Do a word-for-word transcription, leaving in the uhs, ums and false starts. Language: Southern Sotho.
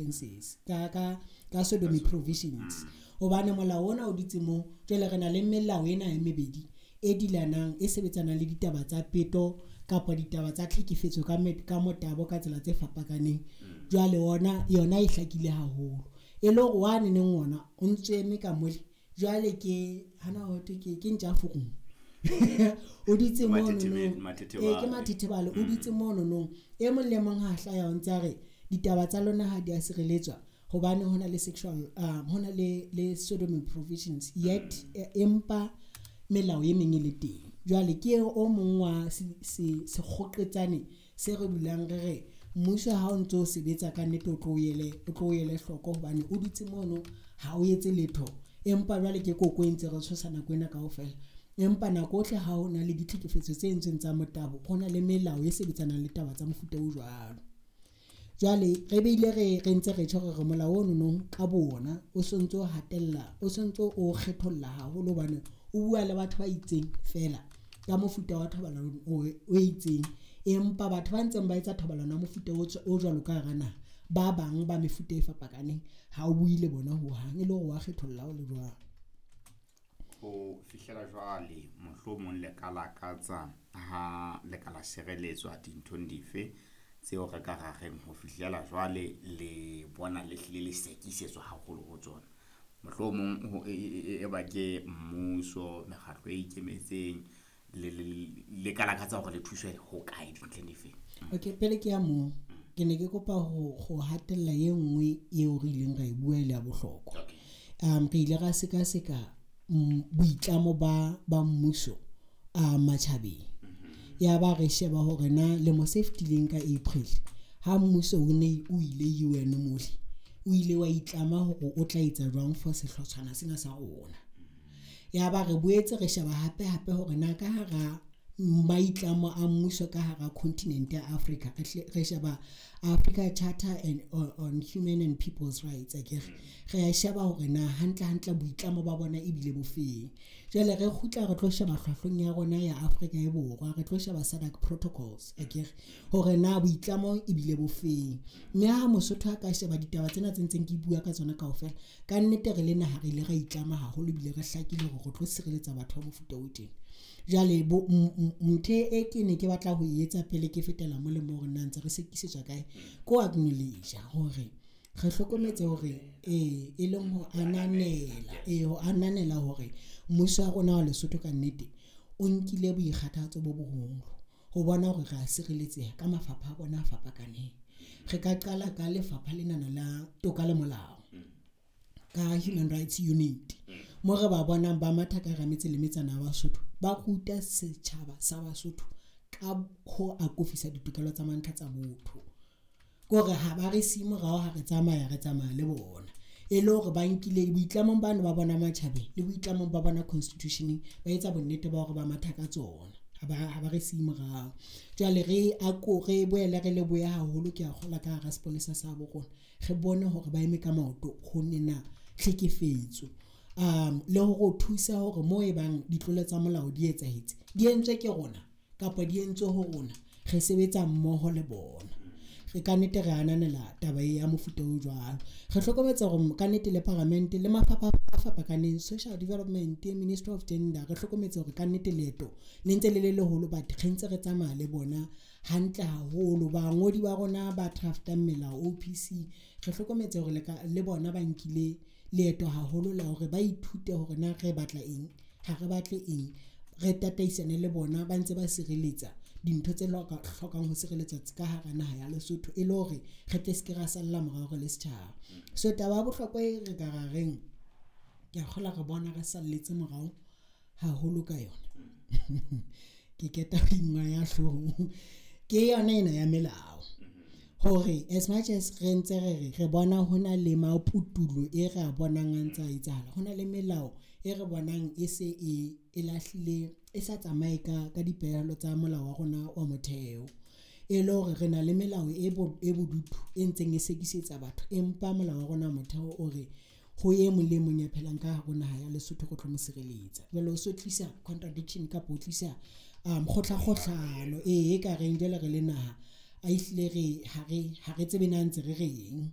Offences ka ka ka sodomy provisions, hobane molao ona o dutse moo. Jwale re na le melao ena e mebedi e dilanang, e sebetsanang le ditaba tsa peto kapa ditaba tsa tlhekefetso ka ka motabo ka tsela tse fapakaneng. Jwale ona yona e hlakile haholo, e le hore wane neng ona o ntso eme ka mole. Jwale ke hana ho thwe ke ke ntja furung, o dutse mono, ke mathethebale, o dutse mono nong. E mong le mong ha hlaya o ntsa re ditaba tsa lona ha di a sireletswa hobane hona le sexual um hona le le sodomy provisions, yet empa melao e meng e le teng. Jwale ke o mong wa sekgoqetsane se re dulang re re mmuso ha o ntso sebetsa ka nnete, o tlo ele o tlo ele hloko hobane o dutse mono ha o etse letho. Empa jwale ke koko e ntse re tshosa nako ena kaofela, empa nako ohle ha hona le ditlhekefetso tse entsweng tsa motabo, ho na le melao e sebetsanang le taba tsa mofuta o jwalo. Jwale re bile re re ntse re tjho re re molao ono nong ka bona o sontso o hatella, o sontso o kgetholla haholo hobane o bua le batho ba itseng fela ka mofuta wa thobalano o itseng, empa batho ba ntseng ba etsa thobalano ya mofuta o jwalo ka hara naha, ba bang ba mefuta e fapakaneng ha o bue le bona hohang, e le hore wa kgetholla o le jwalo. Ho fihlela jwale mohlomong le ka lakatsa ha le ka la sireletswa dinthong dife tseo re ka ra reng ho fihlela jwale le bona le hlile le sekisetswa haholo ho tsona? Mohlomong e ba ke mmuso, mekgatlo e ikemetseng, le le ka lakatsa hore le thuswe ho kae dintlheng difeng? Okay, pele ke ya moo, ke ne ke kopa ho ho hatella e nngwe eo re ileng ra e bua e le ya bohlokwa. Um re ile ra sekaseka boitlamo ba ba mmuso a matjhabeng, ya ba re sheba hore na lemo se fetileng ka April ha mmuso o ne o ile U N mole, o ile wa itlama hore o tla etsa jwang for sehlotshwana sena sa rona. Ya ba re boetse re sheba hape hape hore na ka hara maitlamo a mmuso ka hara continent ya Africa, re sheba Africa Charter and on Human and People's Rights, akere re a sheba hore na hantle hantle boitlamo ba bona ebile bofeng. Jwale re kgutla re tlo sheba hlwahlweng ya rona ya Afrika e Borwa, re tlo sheba SADC protocols, akere hore na boitlamo ebile bofeng. Mme ha Mosotho a ka sheba ditaba tsena tse ntseng ke bua ka tsona kaofela, ka nnete re le naha re ile ra itlama haholo ebile re hlakile hore re tlo sireletsa batho ba mofuta o teng. Jwale bo ntho e ke ne ke batla ho etsa pele ke fetela molemo hore na ntse re sekisetswa kae, ko acknowledge hore re hlokometse hore e e leng ho ananela, e ho ananela hore mmuso wa rona wa Lesotho ka nnete o nkile boikgathatso bo boholo ho bona hore re a sireletseha ka mafapha a bona a fapakaneng. Re ka qala ka lefapha lenana la toka le molao, ka Human Rights Unit, mo re ba bonang ba matha ka hara metse le metsana ya Basotho, ba ruta setjhaba sa Basotho ka ho akofisa ditokelo tsa mantlha tsa botho. Ke hore ha ba re siye morao ha re tsamaya, re tsamaya le bona, e le hore ba nkile boitlamong bano ba bona matjhabeng le boitlamong ba bona constitution-eng, ba etsa bonnete ba hore ba matha ka tsona, ha ba ha ba re siye morao. Jwale re ako re boele re lebohe haholo, ke a kgolwa ka hara sepolesa sa bo rona re bone hore ba eme ka maoto ho nena tlhekefetso, um le hore thusa hore mo e bang ditlolo tsa molao di etsahetse, di entswe ke rona kapa di entswe ho rona, re sebetsa mmoho le bona. Re ka nnete re ananela taba ya mofuta o jwalo. Re hlokometse hore ka nnete le paramente le mafapha a fapakaneng, Social Development, Ministry of Gender, re hlokometse hore ka nnete leeto le ntse le le leholo, but re ntse re tsamaya le bona hantle haholo. Bangodi ba rona ba draft-ang melao O P C, re hlokometse hore le le bona ba nkile leeto haholo la hore ba ithute hore na re batla eng, ha re batle eng, re tataisane le bona ba ntse ba sireletsa dintho tse hlokang ho sireletswa ka hara naha ya Lesotho, e le hore re tle se ke ra salla morao re le setjhaba. So taba ya bohlokwa e re ka ra reng, ke a kgolwa re bona re salletse morao haholo ka yona, ke keta ho ingwaya hloohong, ke yona ena ya melao. Hore as much as re ntse re re re bona hona le maputulo e re a bonang a ntse a etsahala, hona le melao e re bonang e se e e lahlile, e sa tsamaye ka ka dipehelo tsa molao wa rona wa motheo, e le hore re na le melao e bo e bodutu e ntseng e sekisetsa batho, empa molao wa rona wa motheo o re ho e mong le mong ya phelang ka hare ho naha ya Lesotho re tlo mo sireletsa. Jwale o so tlisa contradiction kapa o tlisa um kgohlakgohlano e ka reng jwale re le naha a ehlile re ha re ha re tsebe na ntse re reng.